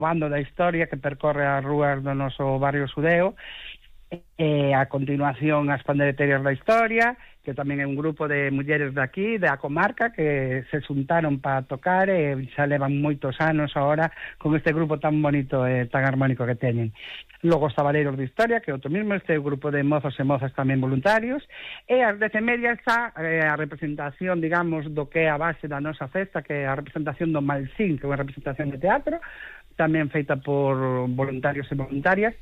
bando da historia que percorre as rúas do noso barrio Sudeo, e a continuación as pandereterias da historia, que tamén é un grupo de mulleres daqui, da comarca, que se xuntaron para tocar e xa levan moitos anos agora con este grupo tan bonito e tan armónico que teñen. Logo os tabaleiros de historia, que é outro mismo, este grupo de mozos e mozas tamén voluntarios, e ás 10:30 está a representación, digamos, do que é a base da nosa festa, que é a representación do Malsín, que é unha representación de teatro, tamén feita por voluntarios e voluntarias,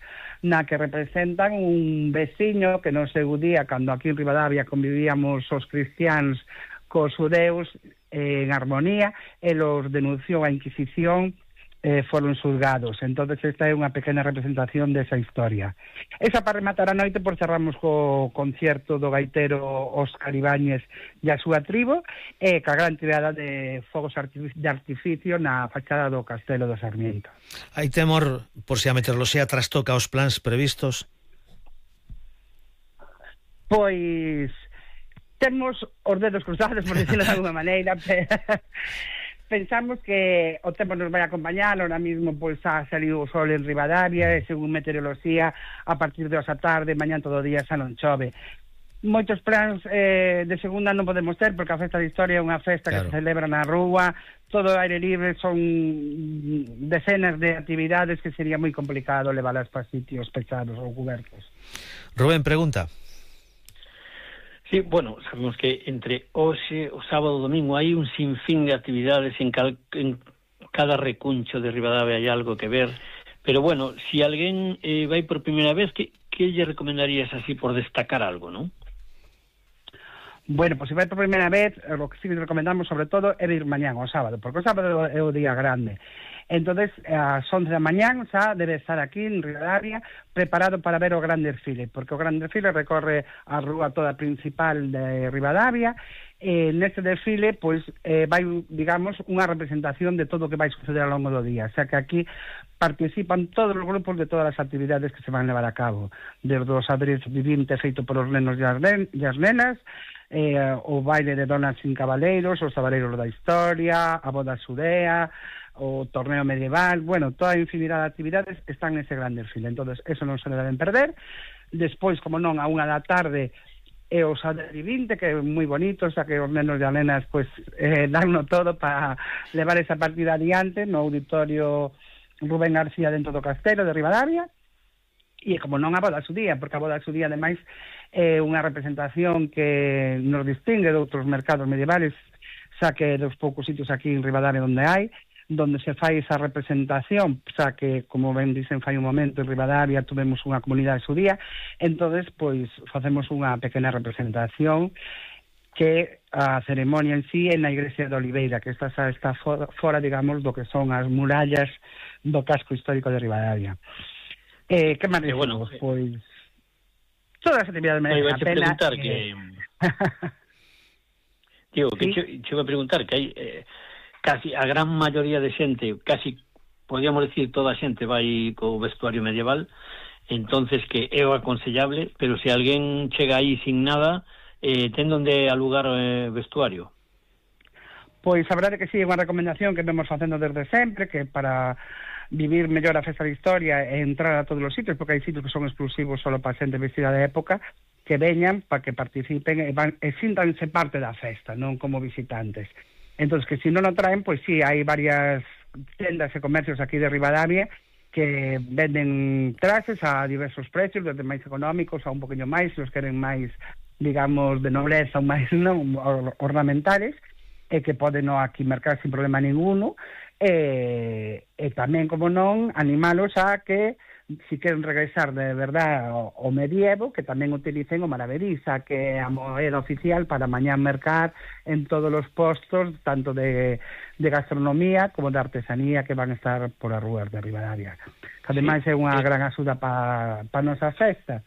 na que representan un veciño que no seu día, cando aquí en Ribadavia convivíamos os cristiáns cos judeus en armonía, e los denunciou a Inquisición, foron xulgados. Entonces esta é unha pequena representación desa historia. Esa para rematar a noite, por cerramos co concierto do gaitero Óscar Ibáñez e a súa tribo, e ca gran tirada de fogos de artificio na fachada do Castelo do Sarmiento. Hai temor por se a meteoroloxía trastoca os plans previstos? Pois temos os dedos cruzados, por decirlo de alguma maneira, pero pensamos que o tempo nos vai acompañar. Ahora mismo pois ha salido o sol en Ribadavia, e según meteoroloxía a partir de hoxe a tarde, mañán todo o día xa non chove. Moitos plans de segunda non podemos ter, porque a festa de historia é unha festa que se celebra na rúa, todo aire libre, son decenas de actividades que sería moi complicado leválas para sitios pechados ou cobertos. Rubén, pregunta. Sí, bueno, sabemos que entre hoxe, o sábado e o domingo hai un sinfín de actividades en cada recuncho de Ribadavia, hai algo que ver, pero bueno, si alguén vai por primeira vez, que lle recomendarías así por destacar algo, non? Bueno, pues se vai por primeira vez, o que sí que recomendamos sobre todo é ir mañán ao sábado, porque o sábado é o día grande. Entonces, ás 11 da mañán xa debe estar aquí en Ribadavia preparado para ver o gran desfile, porque o gran desfile recorre a rúa toda principal de Ribadavia, e neste desfile pois vai, digamos, unha representación de todo o que vai suceder ao longo do día, xa que aquí participan todos os grupos de todas as actividades que se van levar a cabo, desde o xadrez vivinte feito por os nenos e as nenas, o baile de donas sin cabaleiros, os tabaleiros da historia, a boda xudea, o torneo medieval, bueno, toda a infinidade de actividades están nese gran desfile. Entonces, eso non se deben perder. Despois, como non, a 1 da tarde é o xadrez vivinte, que é moi bonito, xa que os nenos e as nenas pues, danno todo para levar esa partida adiante no auditorio Rubén García dentro do Castelo de Ribadavia. E como non a boda xudía, porque a boda xudía ademais é unha representación que nos distingue de outros mercados medievales, xa que dos poucos sitios aquí en Ribadavia donde se fai esa representación, xa que, como ben dicen fai un momento, en Ribadavia tuvemos unha comunidade xudía, entonces pois facemos unha pequena representación que a ceremonia en sí é na igrexa de Oliveira, que está fora, digamos, do que son as murallas do casco histórico de Ribadavia. Que máis decimos? Pois todas as actividades merecen a pena. Digo, que che vou a preguntar que hai casi a gran maioría de xente, casi podríamos decir toda a xente vai co vestuario medieval, entonces que é o aconsellable, pero se alguén chega aí sin nada, ten donde alugar vestuario? Pois a verdade que sí, é unha recomendación que vemos facendo desde sempre, que para vivir mellor a festa de historia e entrar a todos os sitios, porque hai sitios que son exclusivos solo para xente vestida de época, que veñan para que participen e síntanse parte da festa, non como visitantes. Entonces, que si non o traen, pois sí, hai varias tendas e comercios aquí de Ribadavia que venden traxes a diversos precios, desde máis económicos a un poquinho máis, se os queren máis, digamos, de nobleza ou máis non ornamentales, e que poden aquí mercar sin problema ninguno, e tamén, como non, animalos a que si queren regresar de verdad ao medievo, que tamén utilicen o maravediza, que é a moeda oficial para mañán mercar en todos os postos, tanto de gastronomía como de artesanía que van a estar por as rúas de Ribadavia. Que ademais é unha gran axuda para a nosa festa.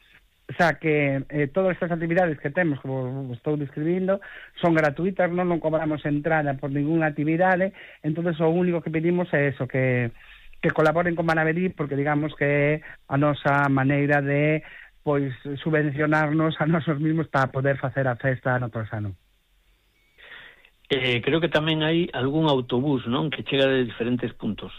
O sea que todas estas actividades que temos, como estou describindo, son gratuitas, non cobramos entrada por ninguna actividade, entonces o único que pedimos é eso, que colaboren con Manavedí, porque digamos que é a nosa maneira de pois subvencionarnos a nosos mismos para poder facer a festa ano tras ano. Creo que tamén hai algún autobús, non, que chega de diferentes puntos.